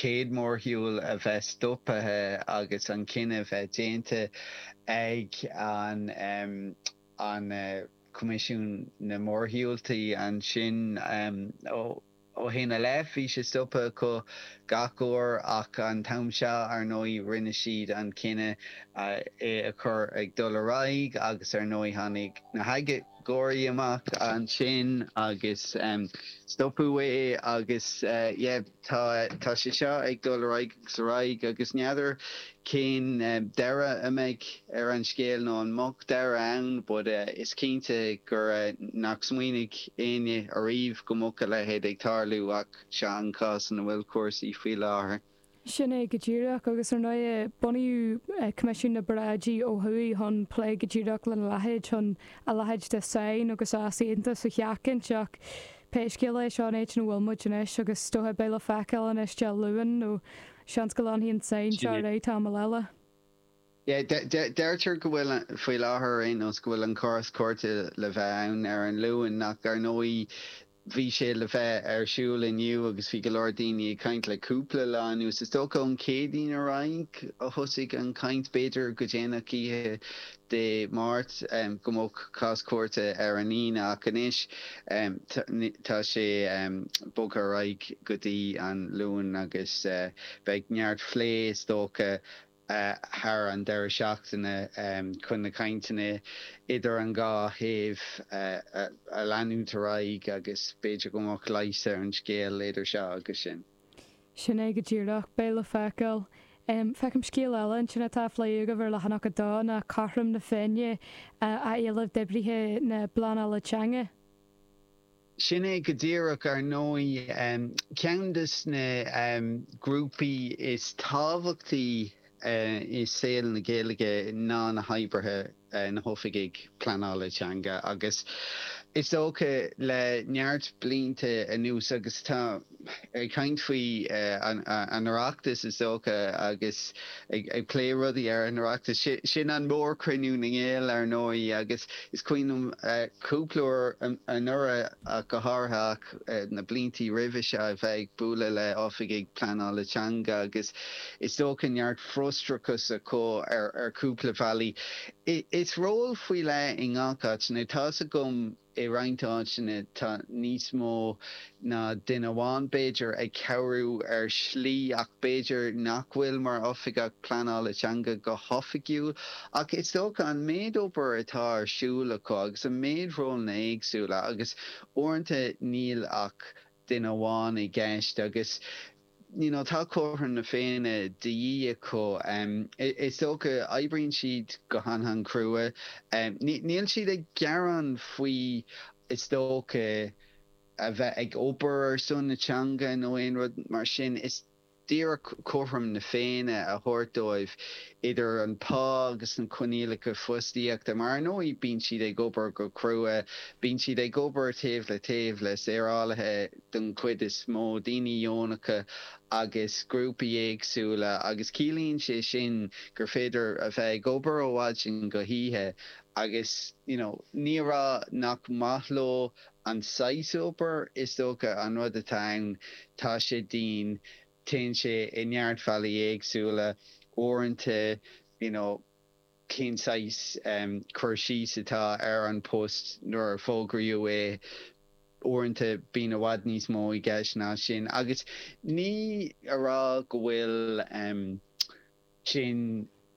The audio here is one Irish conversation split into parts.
chéad mhórshiúl a bheith stoptha agus an cinneadh a bheith déanta ag an an Coimisiún na Mórshiúltaí ansin ó Ó shin i leith, bhí sé stoptha acu gach uair ach an t-am seo, ar ndóigh, rinne siad an cinneadh é a chur ag dul ar aghaidh agus ar ndóigh tháinig na hagóidí amach ansin agus stopadh é agus yeah tá tá sé seo ag dul ar aghaidh agus ar aghaidh agus n'fheadar cén deireadh a mbeidh ar an scéal nó an mbeadh deireadh ann but is cinnte gur nach smaoinigh éinne ariamh go mbeadh a leithéid ag tarlú ach seo an cás ina bhfuil cúrsaí faoi láthair. Sin é go díreach, agus ar ndóigh bunaíodh Coimisiún na bParáidí ó thuaidh chun plé go díreach lena leithéid, chun a leithéid de sáinn agus easaontas a sheachaint ach pé scéal é seo an áit ina bhfuil muid anois agus is dócha beidh le feiceáil anois Dé Luain nó Seans go leanfaidh an tsáinn seo ar aghaidh tamall eile. Yeah, deirtear go bhfuil, faoi láthair ar aon nós, go bhfuil an cás cúirte le bheith ann ar an Luan ach ar ndóigh bhí sé le bheith ar siúl inniu agus bhí go leor daoine ag caint le cúpla lá anuas. Is dócha ón Chéadaoin ar aghaidh a thosaigh an chaint, b'fhéidir go déanach oíche Dé Máirt go mbeadh cás cúirte ar an Aoine ach anois tá sé bogtha ar aghaidh go dtí an Luan agus beidh neart phlé is dócha thar an deireadh seachtaine chun na cainteanna idir an dhá thaobh a leanúint ar aghaidh agus b'fhéidir go mbeadh leigheas ar an scéal idir seo agus sin. Sin é go díreach. Beidh le feiceáil. Feicim scéal eile ansin atá á phlé agaibh ar leathanach 2, ná cothrom na Féinne á éileamh d'oibrithe na bpleanála teanga. Sin é go díreach. Ar ndóigh, ceann de na grúpaí is tábhachtaí i saol na Gaeilge ná na hoibrithe, na hoifigigh pleanála teanga agus is dócha le neart blianta anuas agus tá ag caint faoi an Oireachtas is dócha agus ag plé rudaí ar an Oireachtas, sin an mórchruinniú na nGael ar ndóigh agus is cuimhin liom cúpla uair anuraidh ach go háirithe ach na bliantaí roimhe seo a bheith ag bualadh le oifigigh pleanála teanga agus Is dócha neart frustrachas acu ar chúpla bealaí. Is ról faoi leith i ngach áit. Now tá's agam i roinnt áiteanna tá níos mó ná duine amháin b'fhéidir ag cabhrú ar shlí ach b'fhéidir nach bhfuil mar oifigeach pleanála teanga go hoifigiúil. Ach is dócha an méid obair atá ar siúl acu agus an méid rólanna éagsúla agus uaireanta níl ach duine amháin i gceist agus you know tá cothrom na Féinne de dhíth acu. Is dócha, oibríonn siad go han-han-chrua. Níl siad ag gearán faoi, is dócha, a bheith ag obair ar son na teanga nó aon rud mar sin. Is díreach cothrom na Féinne a thabhairt dóibh idir an pá agus na coinníollacha fostaíochta, mar ar ndóigh bíonn siad ag obair go crua, bíonn siad ag obair taobh le taobh le saorálaithe den chuid is mó, daoine deonacha agus grúpaí éagsúla agus ciallaíonn sé sin gur féidir a bheith ag obair ó mhaidin go hoíche agus you know ní a rá nach maith leo an saghas obair, is dócha an rud atá ann, tá sé dian, téann sé i neart bealaí éagsúla, uaireanta you know cén saghas cur síos atá ar an post nuair a fógraíodh é, uaireanta bíonn i bhfad níos mó i gceist ná sin agus ní a rá go bhfuil sin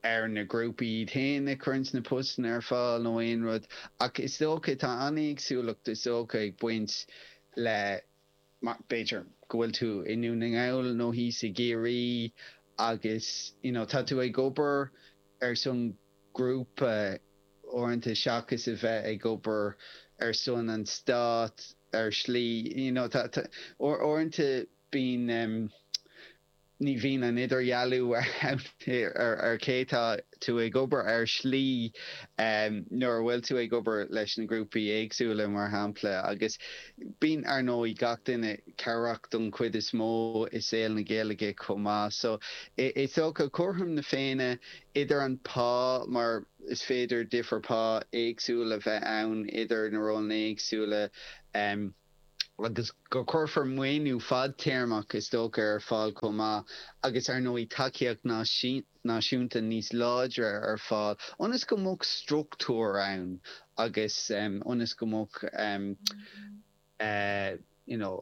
ar na grúpaí iad féin a chuireanns na postanna ar fáil nó aon rud ach is dócha tá an-éagsúlacht is dócha ag baint le mar b'fhéidir go bhfuil tú i nDún na nGall nó thíos i gCiarraí agus you know tá tú ag obair ar son grúpa uaireanta seachas a bheith ag obair ar son an stát ar shlí you know tá tá uaireanta bíonn ní bhíonn an idirdhealú ann ar cé tá tú ag obair ar shlí nuair a bhfuil tú ag obair leis na grúpaí éagsúla, mar shampla. Agus bíonn, ar ndóigh, gach duine cabhrach don chuid is mó i saol na Gaeilge chomh maith. So, is dócha, cothrom na Féinne idir an pá, mar is féidir difear pá éagsúil a bheith ann idir na rólanna éagsúla. Agus go gcuirfear maoiniú fadtéarmach, is dócha, ar fáil chomh maith agus, ar ndóigh, tacaíocht náisiúnta níos láidre ar fáil ionas go mbeadh struchtúr ann agus ionas go mbeadh you know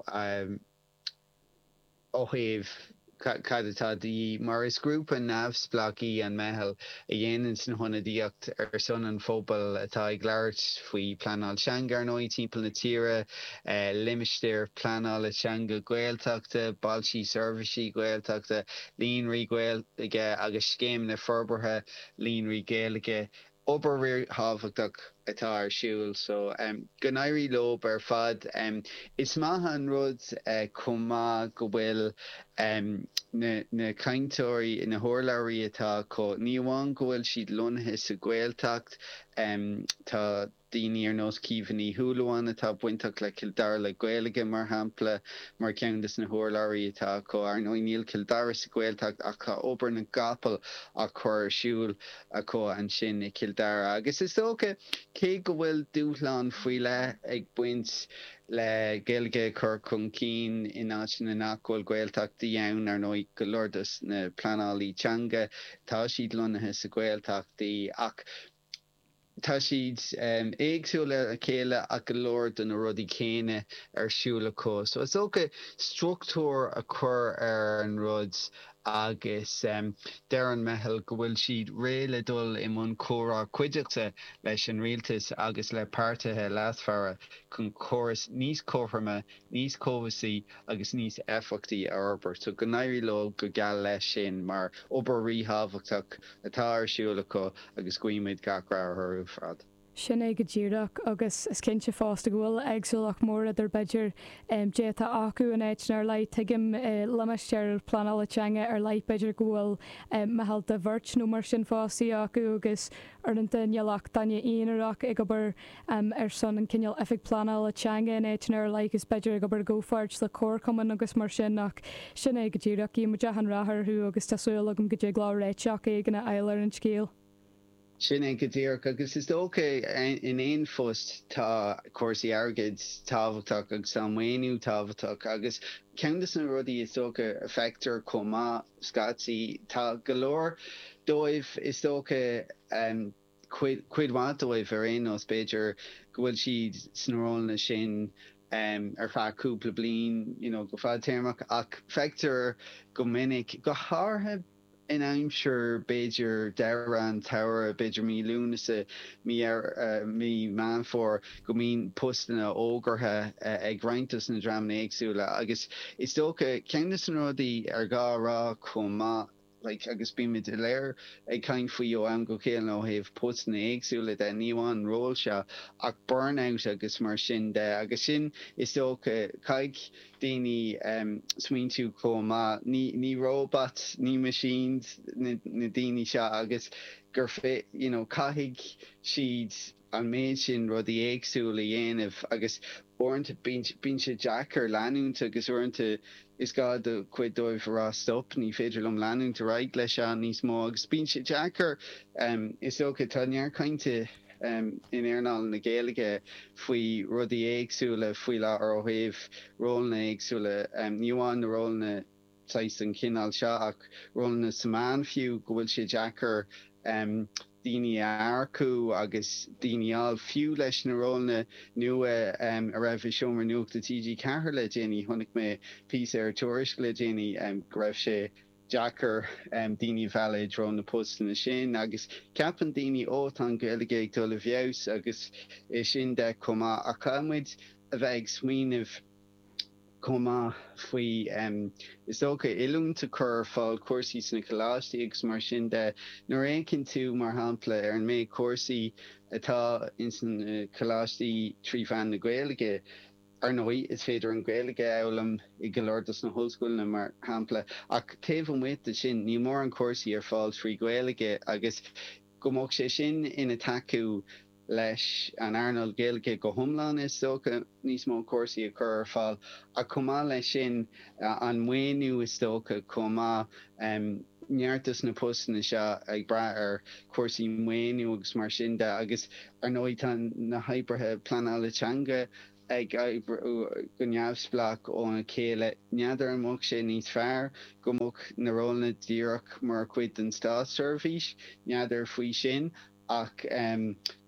ó thaobh cad atá de dhíth, mar is grúpa neamhspleách í an Meitheal a dhéananns an hionadaíocht ar son an phobail atá ag labhairt faoi pleanáil teanga, ar ndóigh, timpeall na tíre, limistéir pleanála teanga Gaeltachta, bailte seirbhísí Gaeltachta, líonraí Gaeilge agus scéimeanna forbartha líonraí Gaeilge. Obair ríthábhachtach atá ar siúl so go n-éirí leo ar fad. Is maith an rud chomh maith go bhfuil na cainteoirí, na hurlabhraí atá acu, ní amháin go bhfuil siad lonnaithe sa Ghaeltacht, tá daoine ar nós Caoimhe Ní Shúilleabháin atá bainteach le Cill Dara le Gaeilge, mar shampla, mar cheann de na hurlabhraí atá acu. Ar ndóigh níl Cill Dara sa Ghaeltacht ach tá obair na gcapall á cur ar siúl acu ansin i gCill Dara. Agus is dócha, cé go bhfuil dúshlán faoi leith ag baint le Gaeilge a chur chun cinn in áiteanna nach bhfuil Gaeltachtaí ann, ar ndóigh, go leor dos na pleanálaí teanga, tá siad lonnaithe sa Ghaeltachtaí ach tá siad éagsúil ar a chéile ach go leor de na rudaí céanna ar siúl acu. So is dócha struchtúr a chur ar an rud agus deir an Meitheal go bhfuil siad réidh le dul i mbun comhrá cuideachta leis an rialtas agus le páirtithe leasmhara chun córas níos cothroime, níos cobhsaí agus níos éifeachtaí a fhorbairt. So go n-éirí leo go geal leis sin mar obair ríthábhachtach atá ar siúl acu agus guímid gach rath orthu ar fad. Sin é go díreach, agus is cinnte fosta go bhfuil éagsúlacht mór idir b'fhéidir dé atá acu in áiteanna ar leith. Tuigim i limistéar pleanála teanga ar leith b'fhéidir go bhfuil meitheal de bheirt nó mar sin fostaithe acu agus uaireanta níl ach duine aonarach ag obair ar son an cineál oifig pleanála teanga in áiteanna ar leith agus b'fhéidir ag obair i gcomhpháirt le comharchumainn agus mar sin ach sin é go díreach, guímid achan rath orthu agus tá súil agam go dtig leo réiteach éigin a fháil ar an scéal. Sin é go díreach agus is dócha in aon phost tá cúrsaí airgid tábhachtach agus tá maoiniú tábhachtach agus ceann de na rudaí is dócha a feictear chomh maith scaití tá go leor dóibh is dócha cuid mhaith dóibh ar aon nós, b'fhéidir, go bhfuil siad sna rólanna sin ar feadh cúpla bliain, you know, go fadtéarmach, ach feictear go minic, go háirithe in aimsir, b'fhéidir, deireadh an tsamhraidh, b'fhéidir mí Lúnasa, mí, mí Meán Fómhair, go mbíonn postanna fógartha ag roinnt dos na dreamanna éagsúla agus is dócha, ceann de na rudaí ar gá a rá chomh maith, like agus bímid uilig ag caint faoi ó am go chéile ó thaobh postanna éagsúla de, ní amháin an ról seo ach burnout agus mar sin de agus sin is dócha caithfidh daoine em smaointiú chomh maith, ní ní robots, ní machines na na daoine seo agus gur fé you know caithfidh siad an méid sin rudaí éagsúla a dhéanamh agus uaireanta bíonn sé deacair leanúint agus uaireanta is gá do chuid dóibh a rá stop, ní féidir liom leanúint ar aghaidh leis seo níos mó agus bíonn sé deacair. Is dócha, tá neart cainte in earnáil na Gaeilge faoi rudaí éagsúla faoi láthair ó thaobh rólanna éagsúla, ní amháin na rólanna saghas den chineál seo ach rólanna sna meáin fiú, go bhfuil sé deacair daoine a earcú agus daoine a fháil, fiú leis na rólanna nua a raibh i Seomra Nuachta TG4 le déanaí. Chonaic mé píosa ar Tuairisc le déanaí go raibh sé deacair daoine a mhealladh i dtreo na postanna sin agus ceapann daoine ó tá an Ghaeilge ag dul i bhfeabhas agus é sin de chomh maith ach caithfidh muid a bheith ag smaoineamh chomh maith faoi, is dócha, oiliúint a chur ar fáil, cúrsaí sna coláistí agus mar sin de. Nuair a fhéachann tú, mar shampla, ar an méid cúrsaí atá ins na coláistí trí mheán na Gaeilge, ar ndóigh, is féidir an Ghaeilge a fhoghlaim i go leor dos na hollscoileanna, mar shampla, ach taobh amuigh de sin, níl mórán cúrsaí ar fáil trí Ghaeilge agus go mbeadh sé sin ina tacú leis an earnáil Ghaeilge go hiomlán, is dócha, níos mó cúrsaí a chur ar fáil ach chomh maith leis sin an maoiniú is dócha chomh maith, neart dos na postanna seo ag brath ar chúrsaí maoiniú agus mar sin de agus ar ndóigh tá na hoibrithe pleanála teanga. ag oibriú go neamhspleách óna chéile. N'fheadar an mbeadh sé níos fearr go mbeadh na rólanna díreach mar chuid den státseirbhís, n'fheadar faoi sin, ach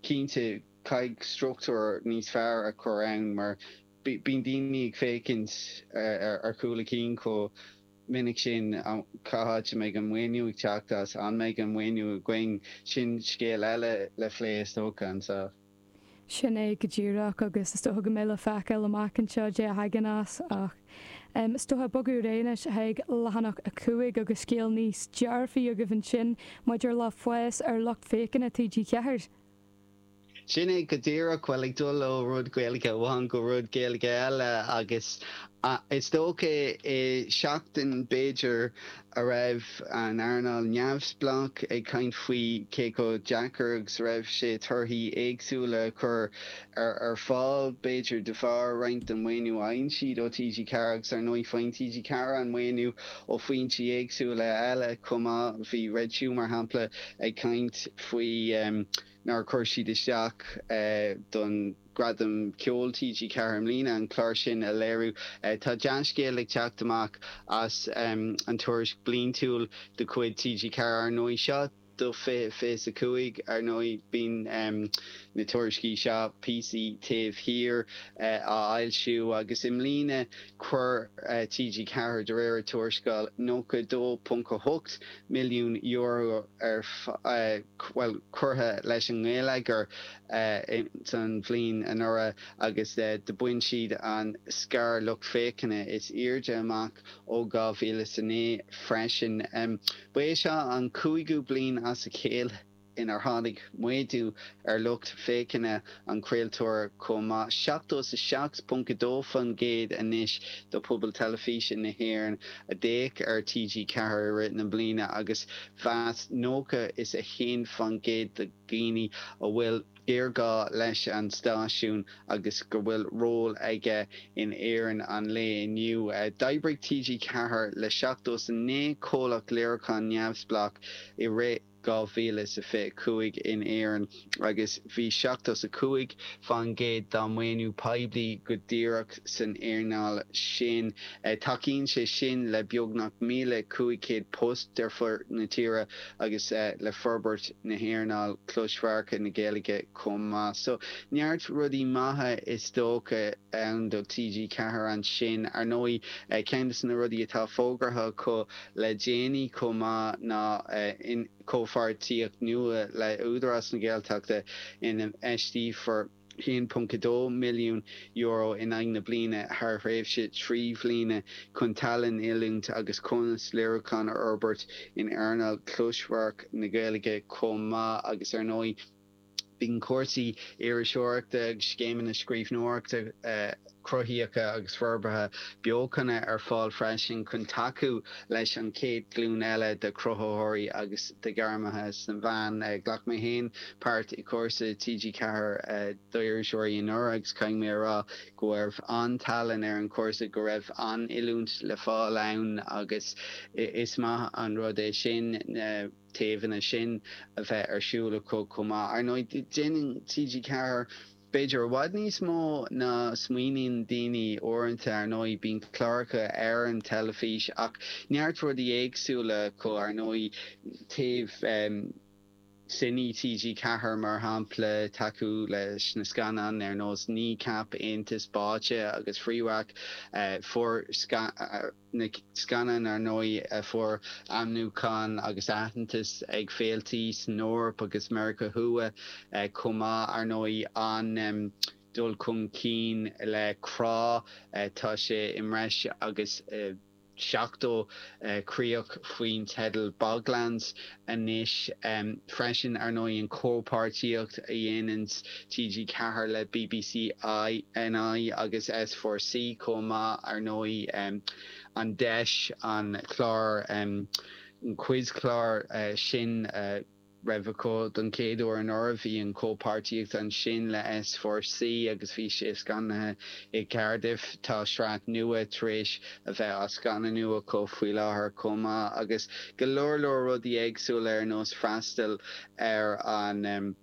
cinnte caithfidh struchtúr níos fearr a chur ann mar bíonn daoine ag féachaint ar chúl a cinn chomh minic sin, cá háit a mbeidh an maoiniú ag teacht as, an mbeidh an maoiniú againn, sin scéal eile le plé is dócha anseo. Sin é go díreach agus is dócha go mbeidh le feiceáil amach anseo caidé a thagann as ach is dócha bogadh ar aghaidh anois chuig leathanach 5 agus scéal níos dearfaí agaibh ansin maidir le fás ar lucht féachana TG4. Sin é go díreach, bhuel ag dul ó rud Gaeilge amháin go rud Gaeilge eile agus is dócha i seachtain b'fhéidir a raibh an earnáil neamhspleách ag caint faoi cé chomh deacair agus a raibh sé torthaí éagsúla a chur ar fáil, b'fhéidir de bharr roinnt den mhaoiniú a fhaigheann siad ó TG4 agus ar ndóigh faigheann TG4 an maoiniú ó foinsí éagsúla eile chomh maith. Bhí Red Shoe mar shampla ag caint faoi nár chuir siad isteach don Gradam Ceoil TG4 i mbliana, an clár sin a léiriú. Tá dea-scéal ag teacht amach as an tuairisc bliantúil de chuid TG4, ar ndóigh. Seo do 2025, ar ndóigh. Bíonn na tuairiscí seo, píosaí taobh thiar, á fhoilsiú agus i mbliana chuir TG4, de réir a tuarascáil, €92.8 milliún ar bhuel, curtha leis an ngeilleagar san bhliain anuraidh agus do bhain siad an scair lucht féachana is airde amach ó 2009 freisin. Ba é seo an cúigiú bliain as a chéile inar tháinig méadú ar lucht féachana an chraoltóra chomh maith, 77.2% anois de phobal teilifíse na hÉireann a d'fhéach ar TG4 i rith na bliana agus mheas 91% de dhaoine a bhfuil géarghá leis an stáisiún agus go bhfuil ról aige in Éirinn an lae inniu. D'oibrigh TG4 le 79 comhlacht léiriúcháin neamhspleách i rith 2025 in Éirinn agus bhí 75% dá maoiniú poiblí go díreach san earnáil sin. Tacaíonn sé sin le beagnach 1,500 post ar fud na tíre agus le forbairt na hearnáil closamhairc na Gaeilge chomh maith. So, neart rudaí maithe is dócha ann do TG4 ansin. Ar ndóigh, ceann de na rudaí atá fógartha acu le déanaí chomh maith ná comhpháirtíocht nua le Údarás na Gaeltachta ina n-infheisteofar €1.2 milliún in aghaidh na bliana thar thréimhse 3 bhliana chun tallann, oiliúint agus cumas léiriúcháin a fhorbairt in earnáil closamhairc na Gaeilge chomh maith agus ar ndóigh Bíonn cúrsaí iriseoireachta agus scéimeanna scríbhneoireachta cruthaíocha agus forbartha beochana ar fáil freisin chun tacú leis an chéad ghlúin eile de chruthaitheoirí agus de ghairmithe sna meáin. Ghlac mé féin páirt i gcúrsa TG4 d'iriseoirí anuraidh agus caithfidh mé a rá go raibh an-tallann ar an chúrsa, go raibh an-oiliúint le fáil ann agus is maith an rud é sin. taobhanna sin a bheith ar siúl acu chomh maith. Ar ndóigh, déanann TG4 b'fhéidir i bhfad níos mó ná smaoiníonn daoine uaireanta. Ar ndóigh, bíonn cláracha ar an teilifís ach neart rudaí éagsúla acu, ar ndóigh, taobh Cine TG4 mar shampla, tacú leis na scannáin ar nós Kneecap, Aontas Báite agus Free-Whack. Fuair. na scannáin ar ndóigh a fuair ainmniúchán agus aitheantas ag féiltí san Eoraip agus Meiriceá Thuaidh chomh maith. Ar ndóigh an dul chun cinn le Crá, tá sé i mbreis agus 70 críoch faoin teideal Boglands anois freisin. Ar ndóigh an chomhpháirtíocht a dhéananns TG4 le BBC NI agus S4C chomh maith. Ar ndóigh an deis an clár, an quiz-chlár sin a raibh acu don chéad uair anuraidh, bhí an chomhpháirtíocht ansin le S4C agus bhí sé scannaithe i gCardiff. Tá sraith nua tar éis a bheith á scannánú acu faoi láthair chomh maith agus go leor leor rudaí éagsúla ar nós freastal ar an.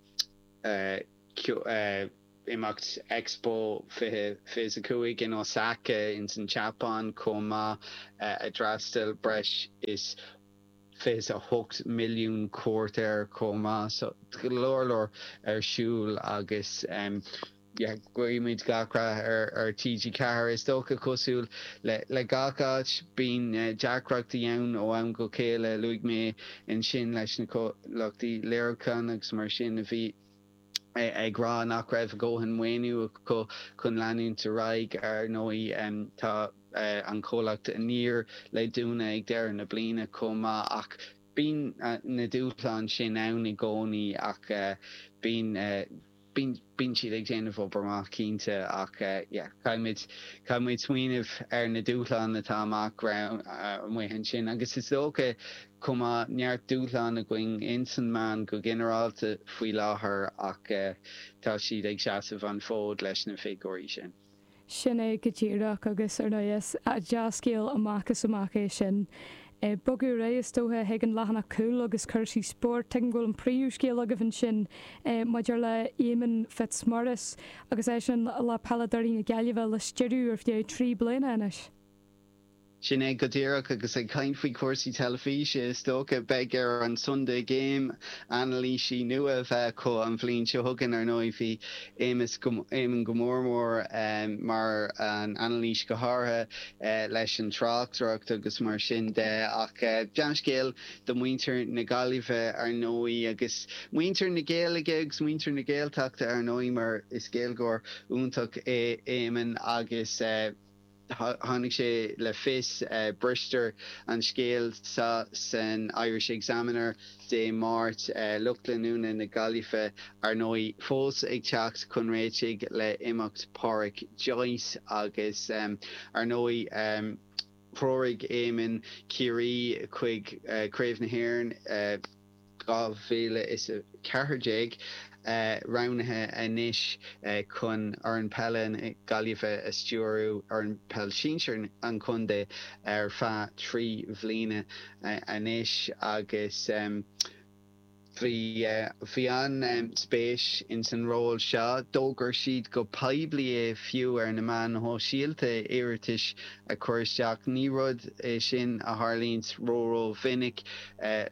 Imeacht Expo 2025 in Osaka ins an tSeapáin chomh maith, a d'fhreastail breis is 28 milliún cuairt air chomh maith. So go leor leor ar siúl agus yeah guímid gach rath ar TG4. Is dócha cosúil le gach áit bíonn deacrachtaí ann ó am go chéile. Luaigh mé ansin leis na comhlachtaí léiriúcháin agus mar sin a bhí ag rá nach raibh a dhóthain maoiniú acu chun leanúint ar aghaidh. Ar ndóigh, tá an comhlacht Aniar le dúnadh ag deireadh na bliana chomh maith ach bíonn na dúshláin sin ann i gcónaí ach bíonn bíonn siad ag déanamh obair maith cinnte ach yeah caithfimid caithfimid smaoineamh ar na dúshláin atá amach amuigh ansin agus is dócha Chomh maith, neart dúshlán againn ins an meán go ginearálta faoi láthair ach tá siad ag seasamh an fód leis na figiúirí sin. Sin é go díreach agus ar ndóigh is dea-scéal amach is amach é sin. Bogadh ar aghaidh is dócha chuig an leathanach cúil agus cúrsaí spóirt. Tuigim go bhfuil an príomhscéal agaibh ansin maidir le Éamonn Fitzmaurice agus eisean le peileadóirí na Gaillimhe le stiúradh ar feadh 3 bliana anois. Sin é go díreach, agus ag caint faoi chúrsaí teilifíse, is dócha, beidh ar an Sunday Game anailísí nua a bheith acu an bhliain seo chugainn. Ar ndóigh, bhí Éamus, Éamonn go mór mór mar an anailís go háirithe leis an tráchtaireacht agus mar sin de. Ach dea-scéal do mhuintir na Gaillimhe, ar ndóigh, agus muintir na Gaeilge agus muintir na Gaeltachta, ar ndóigh, mar is Gaeilgeoir iontach é Éamonn agus. Tháinig sé le fios, bristear an scéal seo san Irish Examiner Dé Máirt, lucht leanúna na Gaillimhe, ar ndóigh, fós ag teacht chun réitigh le imeacht Pádraic Joyce agus, ar ndóigh, threoraigh Éamonn Ciarraí chuig Craobh na hÉireann. 2014, roghnaithe anois chun fhoireann peile na Gaillimhe a stiúradh, fhoireann peil sinsir an chontae, ar feadh 3 bhliana anois agus bhí bhí an-spéis ins an ról seo. D'fhógair siad go poiblí é fiú ar na meáin shóisialta, iarratais a chur isteach. Ní rud é sin a tharlaíonns ró-ró-mhinic.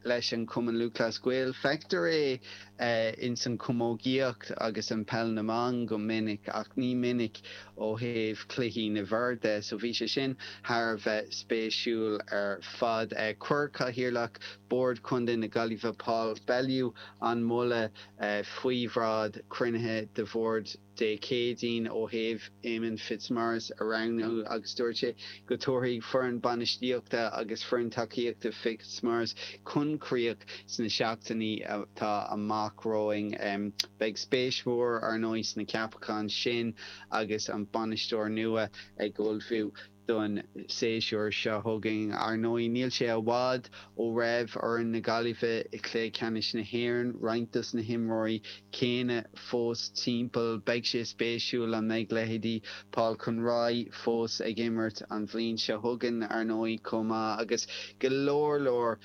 leis an Chumann Lúthchleas Gael. Feictear é ins an chamógaíocht agus an peil na mban go minic ach ní minic ó thaobh cluichí na bhfear de so bhí sé sin thar a bheith spéisiúil ar fad. Chuir Cathaoirleach Bord Chontae na Gaillimhe Paul Bellew an moladh faoi bhráid cruinnithe de bhord Dé Céadaoin ó thaobh Éamonn Fitzmaurice a roghnú agus dúirt sé go dtabharfaidh foireann bainistíochta agus foireann tacaíochta Fitzmaurice chun críoch sna seachtainí atá amach romhainn. Beidh spéis mhór, ar ndóigh, sna ceapacháin sin agus an bainisteoir nua ag ullmhú don séasúr seo chugainn. Ar ndóigh, níl sé i bhfad ó raibh foireann na Gaillimhe i gcluiche ceannais na hÉireann, roinnt dos na himreoirí céanna fós timpeall. Beidh sé spéisiúil an mbeidh leithéidí Paul Conroy fós ag imirt an bhliain seo chugainn, ar ndóigh, chomh maith agus go leor leor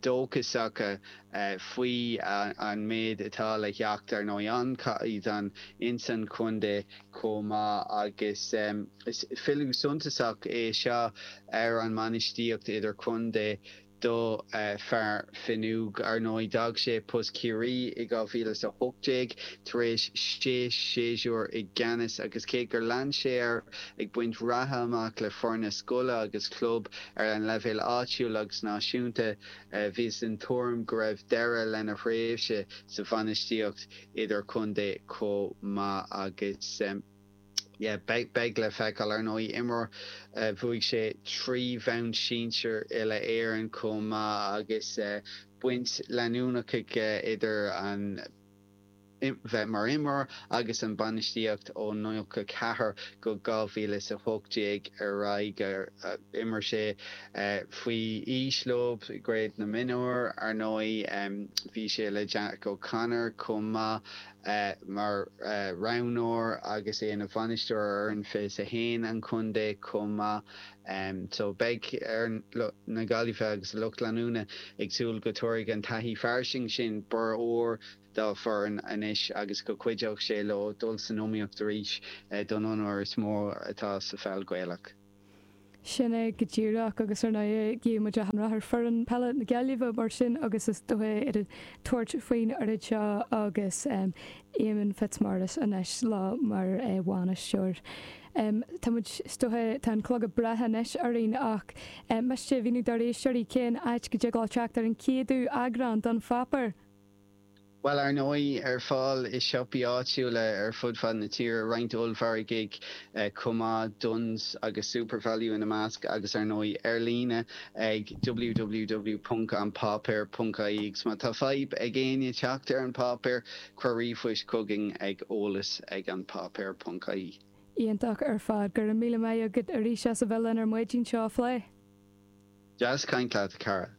dóchasacha faoi an méid atá le theacht, ar ndóigh, an-chaighdeán ins an chontae chomh maith agus is filleadh suntasach é seo ar an mbainistíocht idirchontae do fear Fionnúgh. Ar ndóigh, d'fhág sé post Chiarraí i 2018 tar éis sé séasúr i gceannas agus cé gur lean sé air ag baint ratha amach le foirne scoile agus club ar an leibhéal áitiúil agus náisiúnta, bhíothas den tuairim go raibh deireadh lena thréimhse sa bhainistíocht idirchontae chomh maith agus yeah beidh le feiceáil. Ar ndóigh, imreoir, bhuaigh sé 3 bhonn sinsir uile-Éireann chomh maith agus baint leanúnach aige idir an bheith mar imreoir agus an bainistíocht ó 94 go 2018 ar aghaidh. D'imir sé faoi aois leo i gcraobh na mionúr, ar ndóigh. Bhí sé le Jack O'Connor chomh maith mar roghnóir agus é ina bhainisteoir ar fhoireann 21 an chontae chomh maith. So beidh foireann na Gaillimhe agus a lucht leanúna ag súil go dtabharfaidh an taithí fairsing sin borradh úr dá bhfoireann anois agus go gcuideoidh sé leo dul san iomaíocht arís don onóir is mó atá sa pheil Ghaelach. Sin é go díreach agus ar ndóigh guíonn muid achan rath ar foireann peile na Gaillimhe mar sin agus is dócha iad ag tabhairt faoin oiread seo agus Éamonn Fitzmaurice anois leo mar bhainisteoir. Tá muid, is dócha, tá an clog ag breith anois orainn ach miste a mhíniú dár éisteoirí cén áit go dtig leo teacht ar an chéadú eagrán den pháipéar. Bhuel, ar ndóigh, ar fáil i siopaí áitiúla ar fud fad na tíre, roinnt ollmhargaidh chomh maith, Dunnes agus Supervalu ina measc, agus ar ndóigh ar líne ag www.anpáipéar.ie. Agus má tá fadhb ag éinne teacht ar an bpáipéar, cuir ríomhphost chugainn ag eolas ag anpáipéar.ie. Iontach ar fad. Go raibh míle maith agat arís as a bheith linn ar maidin seo a phlé. Deas caint leat, a chara.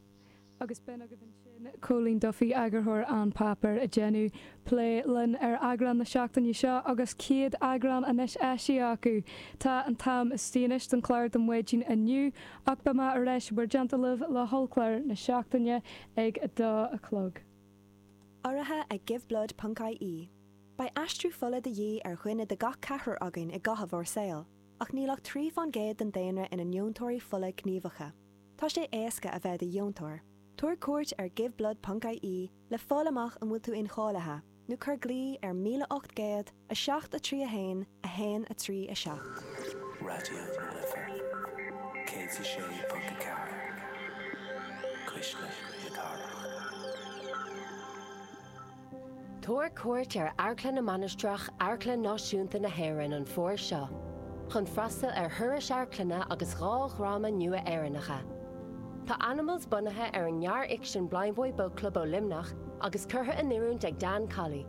Agus b'in agaibh ansin Cóilín Duffy, eagarthóir An Páipéar, ag déanamh plé linn ar eagrán na seachtaine seo agus 100 eagrán anois eisithe acu. Tá an t-am istigh anois don chlár don mhaidin inniu ach beidh mé ar ais i bhur dteannta libh le hollchlár na seachtaine ag a dó a chlog. Urraithe ag Giveblood ponc ie. Beidh aistriú fola de dhíth ar dhuine de gach ceathrar againn i gcaitheamh ár saoil, ach níl ach 3 fán gcéad den daonra ina ndeontóirí fola gníomhacha. Tá sé éasca a bheith i do dheontóir. Tabhair cuairt ar giveblood ponc ie le fáil amach an bhfuil tú incháilithe, nó cuir glao ar 1800 7 3 1 1 3 7. Raidió na Life 106.4, Cuisle na Cathrach. Tabhair cuairt ar Amharclann na Mainistreach, Amharclann Náisiúnta na hÉireann an fómhar seo chun freastal ar thurais amharclainne agus 2 dhráma nua Éireannacha. Tá Animals bunaithe ar an ngearrfhicsean Blindboy Boatclub ó Luimneach agus curtha in oiriúint ag Dan Colley,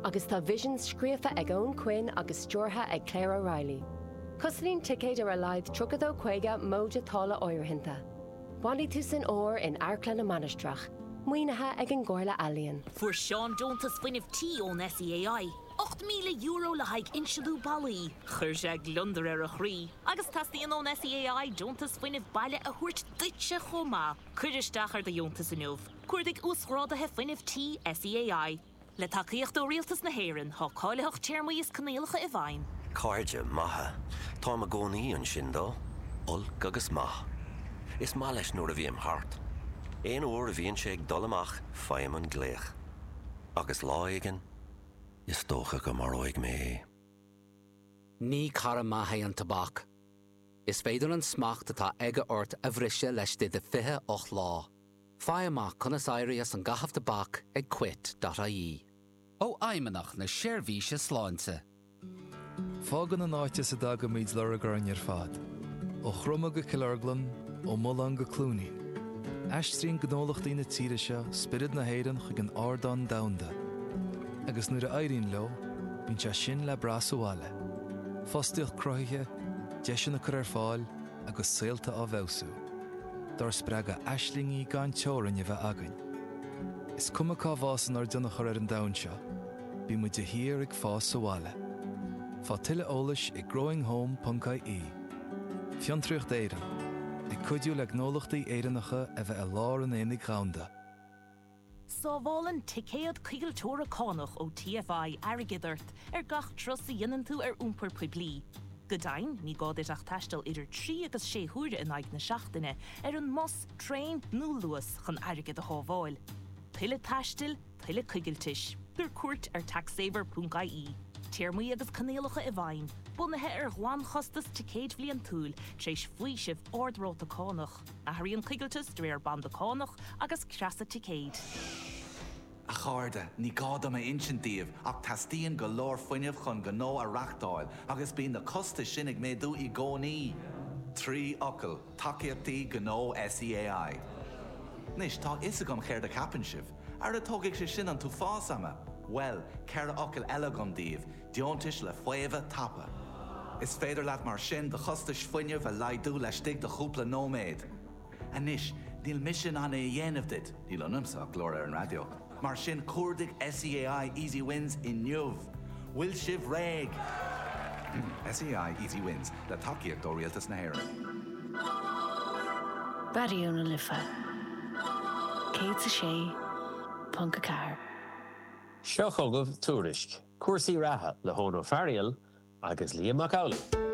agus tá Visions scríofa ag Eoin Quinn agus stiúrtha ag Claire O'Reilly. Cosnaíonn ticéid ar a laghad 32.50 móide táille áirithinte. Bainfidh tú san fhómhar in Amharclann na Mainistreach, maoinithe ag an gComhairle Ealaíon. Fuair Seán deontas fuinnimh tí ón SEAI, €8,000 le haghaidh insealú ballaí. Chuir sé gliondar ar a chroí. Agus teastaíonn ón SEAI deontas fuinnimh baile a thabhairt duitse chomh maith. Cuir isteach ar do dheontas inniu. Cuardaigh Uasghráduithe Fuinnimh Tí SEAI. Le tacaíocht ó Rialtas na hÉireann, tá cáilitheacht, téarmaí is coinníollacha i bhfeidhm. Cairde maithe. Táim i gcónaí ansin dó, olc agus maith. Is maith leis nuair a bhím thart. Aon uair a bhíonn sé ag dul amach faighim an glaoch. Agus lá éigin, is dócha go maróidh mé é. Ní cara maith é an tobac. Is féidir an smacht atá aige ort a bhriseadh laistigh de 28 lá. Faigh amach conas éirí as an gcaitheamh tobac ag quit dot ie. Ó Fheidhmeannacht na Seirbhíse Sláinte. Fágann an áit as a dtagaimid lorg orainn ar fad, ó Chroma go Cill Orglan, ó Mullán go Cluainín. Aistríonn gnólachtaí na tíre seo spiorad na hÉireann chuig an ardán domhanda. Agus nuair a éiríonn leo, bíonn sé sin le brath sa bhaile. Fostaíocht cruthaithe, deiseanna curtha ar fáil agus saolta á bhfeabhsú. Dár spreagadh aislingí gan teorainn a bheith againn. Is cuma cá bhfásann ár dtionchar ar an domhan seo, bíonn muid de shíor ag fás sa bhaile. Faigh tuilleadh eolais ag growinghome.ie. Fiontraíocht Éireann, ag cuidiú le gnólachtaí Éireannacha a bheith i lár an aonaigh dhomhanda. Sábhálann Ticéad Coigilteora Cánach ó TFI airgead ort ar gach turas a dhéanann tú ar iompar poiblí. Go deimhin, ní gá duit ach taisteal idir 3 agus 6 huaire in aghaidh na seachtaine ar an mbus, traein nó Luas chun airgead a shábháil. Tuilleadh taistil, tuilleadh coigiltis. Tabhair cuairt ar taxsaver.ie. Téarmaí agus coinníollacha i bhfeidhm, bunaithe ar ghlanchostas ticéid bhliantúil tar éis faoisimh ard-ráta cánach. Athraíonn coigilteas de réir banda cánach agus creasa ticéid. A chairde, ní gá dom a insint daoibh ach teastaíonn go leor fuinnimh chun gnó a reachtáil agus bíonn na costais sin ag méadú i gcónaí. 3 fhocal, tacaíochtaí gnó SEAI. Anois, tá a fhios agam céard a cheapann sibh. Ara tógfaidh sé sin an t-uafás ama! Bhuel, 4 fhocal eile agam daoibh, deontais le faomhadh tapa. Is féidir leat mar sin do chostais fuinnimh a laghdú laistigh de chúpla nóiméad. Anois, níl mise in ann é a dhéanamh duit, níl ionamsa ach glór ar an raidió, mar sin cuardaigh SEAI Easy Wins inniu! Bhfuil sibh réidh? SEAI Easy Wins, le tacaíocht ó Rialtas na hÉireann. Raidió na Life 106.4. Seo chugaibh Tuairisc, cúrsaí reatha le hEoin Ó Fearghail agus Liam Mac Amhlaigh.